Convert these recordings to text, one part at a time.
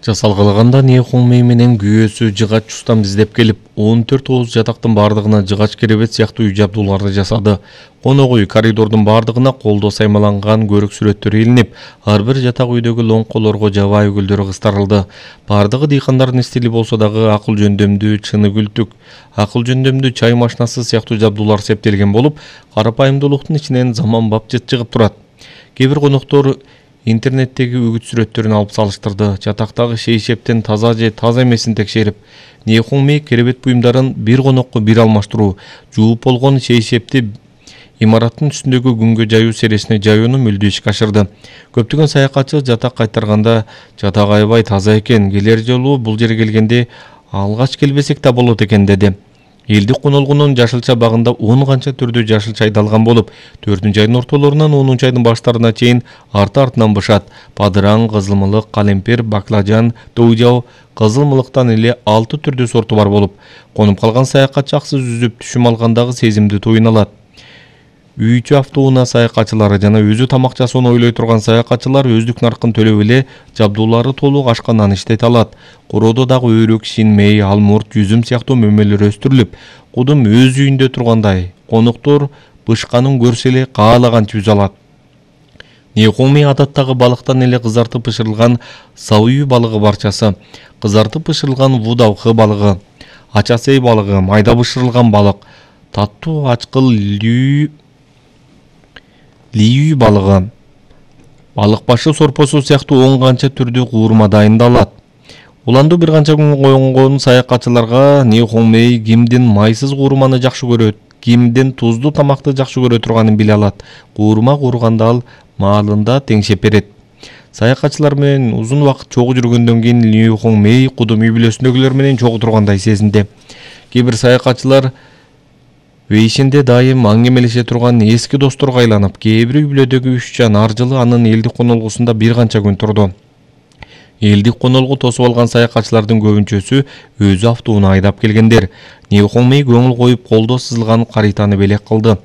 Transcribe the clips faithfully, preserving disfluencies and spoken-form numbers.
Жасалгылаганда Нейхуңмей менен күйөөсү жыгач устам издеп келип, он төрт ооз жатактын бардыгына жыгач керебет сыяктуу үй жабдууларды жасады. Конок үй коридордун бардыгына колдо саймаланган көрүк сүрөттөр илинип, ар бир жатак үйдөгү лоңколорго жабайы гүлдөр кыстарылды. Бардыгы дыйкандардын стили болсо дагы акыл жөндөмдүү чыны күлтүк, акыл жөндөмдүү чай машинасы сыяктуу жабдуулар септелген болуп, карапайымдуулуктун ичинен заманбап жыт чыгып турат. Кээ бир коноктор интернеттеги үгүт сүрөттөрүн алып салыштырды. Жатактагы шейшептен таза же таза эмесин текшерип, Нейхуңмей керебет буюмдарын бир конокко бир алмаштыруу, жууп болгон шейшепти имараттын үстүндөгү күнгө жаюу сересине жаюуну мүлдү ишке ашырды. Көптөгөн саякатчы жатак кайтарганда жатак аябай таза экен, келер жолу бул жерге келгенде алгач келбесек да болот экен деди. Элдик конолгунун жашылча багында он канча түрдүү жашыл чай далган болуп, төртүнчү айдын ортолорунан онунчу айдын баштарына чейин арты-артынан бышат. Падыраң, кызылмылык, калемпир, баклажан, тоужау, кызылмылыктан эле алты түрдүү сорту бар болуп, конуп калган саякатчы аксыз үзүп түшүм алгандагы сезимди туюна алат. Үйчү автоунаа саякатчылары жана өзү тамак жасоону ойлой турган саякатчылар өздүк наркын төлөп эле жабдуулары толук ашкандан иштете алат. Короодо дагы өрүк, шинмей, алмурт, жүзүм сыяктуу мөмөлөр өстүрүлүп, кудум өз үйүндө тургандай, коноктор бышканын көрсө эле каалаганча үзө алат. Нейхуңмей адаттагы балыктан эле кызартып бышырылган сауу балыгы барчасы, кызартып бышырылган вудавхы балыгы, ачасей балыгы, майда бышырылган балык, таттуу ачкыл лүү лиүй балыгы, балык башы сорпосу сыяктуу он канча түрдүү куурма дайындалат. Уланду бир канча күн конгон саякатчыларга Нейхуңмей кимдин майсыз куурманы жакшы көрөт, кимдин тузду тамакты жакшы көрө турганын биле алат. Куурма куурганда ал маалында теңшеп берет. Саякатчылар менен узун убакыт чогуу жүргөндөн кийин Нейхуңмей кудум үй бүлөсүндөгүлөр менен чогуу тургандай сезинди. Кээ бир саякатчылар Вейшинде дайым аңгемелеше турган эски досторго айланып, кээ бир үй бүлөдөгү үч жан ар жылы анын элдик конолгусунда бир канча күн турду. Элдик конолгу тосуп алган саякатчылардын көбүнчөсү өзү автоунаа айдап келгендер. Нейхуңмей көңүл коюп колдо сызылган каританы белек кылды.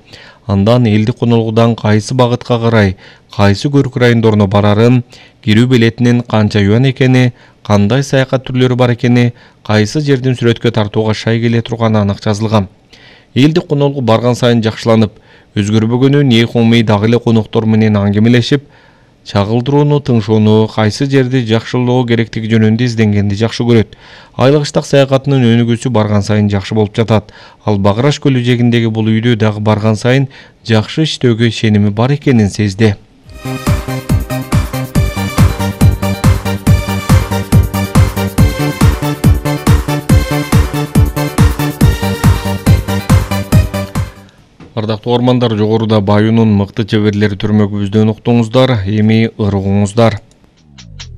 Андан элдик конолгудан кайсы багытка карай, кайсы көрүк райондоруна барарын, кирүү билетинин канча юан экени, кандай саякат түрлөрү бар экени, кайсы жердин сүрөткө тартууга шай келе турганы анык жазылган. Элдик конолгу барган сайын жакшыланып, өзгөрбөгөнү Нейхуңмей дагы эле коноктор менен аңгемелешип, чагылдырууну, тыңшоону, кайсы жерди жакшылоо керектиги жөнүндө изденгенди жакшы көрөт. Айлык ыштак саякатынын өнүгүүсү барган сайын жакшы болуп жатат. Ал Багыраш көлү жээгиндеги бул үйдө дагы барган сайын жакшы иштөөгө ишеними бар экенин сезди. Ардактуу ормандар, жогоруда Баюнун мыкты чеберлери түрмөгүбүздөн уктуңуздар, эми ыргуңуздар.